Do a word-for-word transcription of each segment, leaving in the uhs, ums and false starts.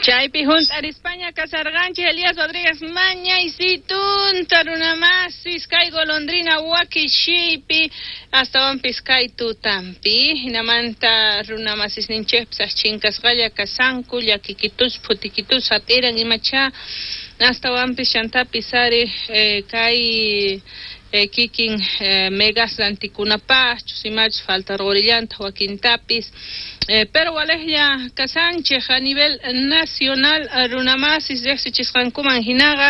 Chaypi hunt'arispaña kasarqanchik Elías Rodríguez mañaysitunta runamasis kay golondrina wakishipi astawanpis kay tutampi hinamanta runamasisninchikpis achinkasqalla kasanku llakikitus phutikitus hap'iran imacha astawanpis chantapis ari eh, kay eh, kikin eh, megas rantikunapaqchus imachus faltarqurillantaq wakintapis eh, pero walejlla kasanchik a nivel nacional runamasis riqsichisqankuman hinaqa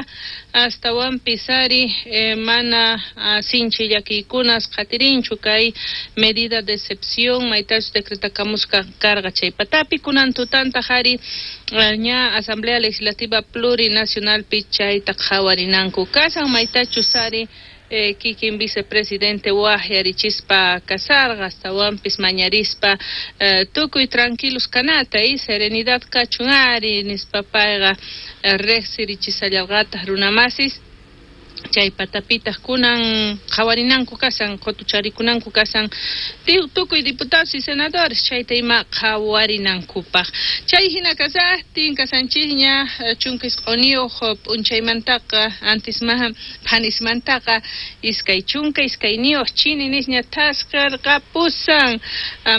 astawanpis ari eh, mana ah, sinchi llakiykunas qatirinchu kay medida de excepción maytachus decretakamusqa karqa chay patapi kunan tutantaq ari ña Asamblea Legislativa Plurinacionalpi chayta qhawarinanku kasan maytachus ari eh, kikin vicepresidente waqyarichispa kasarqa astawanpis mañarispa eh, tukuy tranquilos kanata y serenidad kachun ari nispa payqa eh, riqsirichishallarqataq runamasis chay patapitaq kunan qhawarinanku kasan qutucharikunanku kasan tukuy diputados y senadores chayta ima qhawarinankupaq chay hina kasaqtin kasanchikña chunka isq'uniyuq p'unchaymantaqa antismaha phanismantaqa iskay chunka iskayniyuq chini nisña thasqirqapusan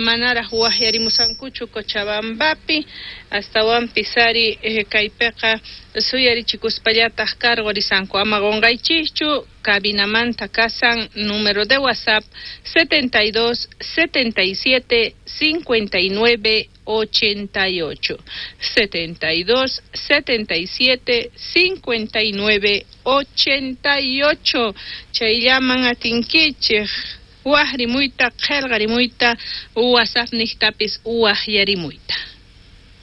manaraq waqyarimusankuchu Cochabambapi astawanpis ari kaypiqa suyarichikuspallataq cargorisanku ama qunqaychikchu cabinamanta kasan número de WhatsApp setenta y dos setenta y siete cincuenta y nueve ochenta y ocho setenta y dos setenta y siete cincuenta y nueve ochenta y ocho chayllaman atinkichik waqrimuyta qillqarimuyta WhatsApp niqtapis waqyarimuyta.